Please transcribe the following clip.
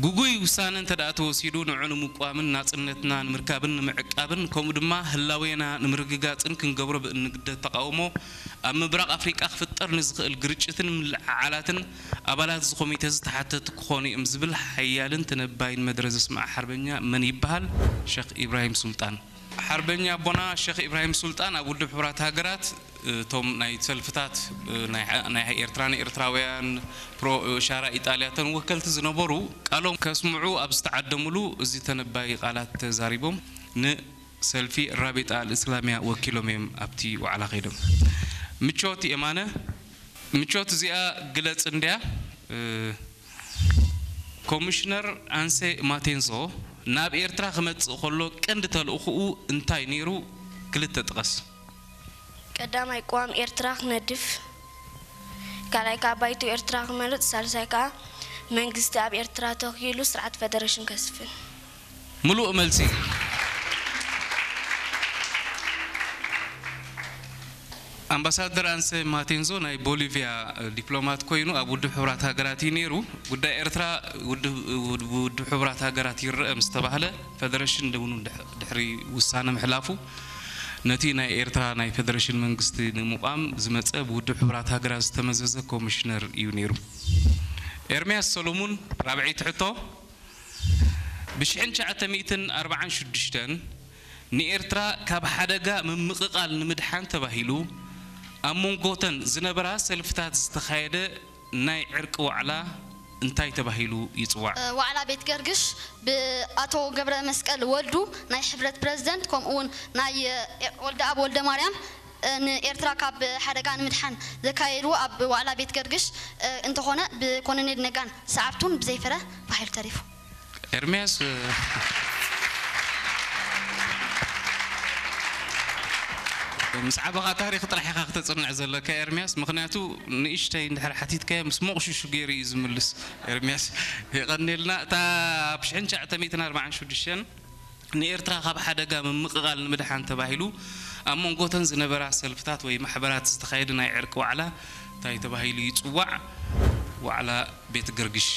ግጉይ ውሳነ እንተ ደኣ ተወሲዱ፣ ንዑ ንምቋምን ናጽነትና ንምርካብን ንምዕቃብን፣ ከምኡ ድማ ህላዌና ንምርግጋጽን ክንገብሮ ብእንግደድ ተቓውሞ፣ ኣብ ምብራቕ ኣፍሪቃ ክፍጠር ንዝኽእል ግርጭትን ምልዕዓላትን ኣባላት እዚ ኮሚተ ዝተሓተቱ ክኾኑ እዮም ዝብል ሓያልን ተነባይን መደረ ዘስምዐ ሓርበኛ መን ይበሃል? ሸኽ ኢብራሂም ሱልጣን። ሓርበኛ ኣቦና ሸኽ ኢብራሂም ሱልጣን ኣብ ውድብ ሕቡራት ሃገራት፣ እቶም ናይ ሰልፍታት፣ ናይ፣ ናይ ኤርትራ ንኤርትራውያን፣ ፕሮ ሻራ ኢጣልያ፣ እተን ወከልቲ ዝነበሩ ቃሎም ከስምዑ ኣብ ዝተዓደሙሉ፣ እዚ ተነባይ ቃላት ተዛሪቦም፣ ንሰልፊ ራቢጣ ኣልእስላሚያ ወኪሎም እዮም ኣብቲ ዋዕላ ከይዶም። ምቾት የማነ። ምቾት እዚኣ ግለጽ እንድያ። እ፣ ኮሚሽነር ኣንሴ ማቴንዞ ናብ ኤርትራ ክመጽእ ከሎ ቀንዲ ተልእኾኡ እንታይ ነይሩ? ክልተ ጥቀስ። ቀዳማይ ቅዋም ኤርትራ ክነድፍ፣ ካልኣይ ከዓ ባይቶ ኤርትራ ክመርጽ፣ ሳልሳይ ከዓ መንግስቲ ኣብ ኤርትራ ተኺሉ ስርዓት ፈደረሽን ከስፍን። ምሉእ መልሲ። ኣምባሳደር ኣንሴ ማቴንዞ ናይ ቦሊቪያ ዲፕሎማት ኮይኑ ኣብ ውድብ ሕቡራት ሃገራት እዩ ነይሩ። ጉዳይ ኤርትራ ውድብ፣ ውድብ ሕቡራት ሃገራት ይረአ ምስ ተባህለ፣ ፈደረሽን እውን ድሕ-፣ ድሕሪ ውሳነ ምሕላፉ፣ ነቲ ናይ ኤርትራ ናይ ፈደረሽን መንግስቲ ንምቋም ዝመጸ ብውድብ ሕቡራት ሃገራት ዝተመዘዘ ኮሚሽነር እዩ ነይሩ። ኤርምያስ ሰሎሙን፣ ራብዐይቲ ሕቶ። ብሽሕን ትሽዓተ ሚእትን ኣርባዓን ሽዱሽተን ንኤርትራ ካብ ሓደጋ ምምቕቓል ንምድሓን ተባሂሉ ኣብ መንጎተን ዝነበራ ሰልፍታት ዝተኻየደ ናይ ዕርቂ ዋዕላ እንታይ ተባሂሉ ይጽዋዕ? ዋዕላ ቤት ገርግሽ ብኣቶ ገብረ መስቀል ወልዱ ናይ ሕብረት ፕረዚደንት፣ ከምኡ እውን ናይ ወልደኣብ ወልደ ማርያም ንኤርትራ ካብ ሓደጋ ንምድሓን ዘካየድዎ ኣብ ዋዕላ ቤት ገርግሽ እንተኾነ፣ ብኮሎኔል ነጋን ሰዓብቱን ብዘይፍረ ባሂሉ ተሪፉ። ኤርምያስ፣ ምስ ዓበኻ ታሪኽ ጥራሕ ኢኻ ክተጽንዕ ዘለካ ኤርምያስ፣ ምኽንያቱ ንእሽተይ እንድሕር ሓቲትካዮ ምስ ሞቕሽሹ ገይሩ እዩ ዝምልስ። ኤርምያስ የቐንየልና። እታ ኣብ ሽሕን ትሽዓተ ሚእትን ኣርባዓን ሽዱሽተን ንኤርትራ ካብ ሓደጋ ምምቕቓል ንምድሓን ተባሂሉ ኣብ መንጎተን ዝነበራ ሰልፍታት ወይ ማሕበራት ዝተኻየደ ናይ ዕርቂ ዋዕላ እንታይ ተባሂሉ ይጽዋዕ? ዋዕላ ቤት ገርግሽ።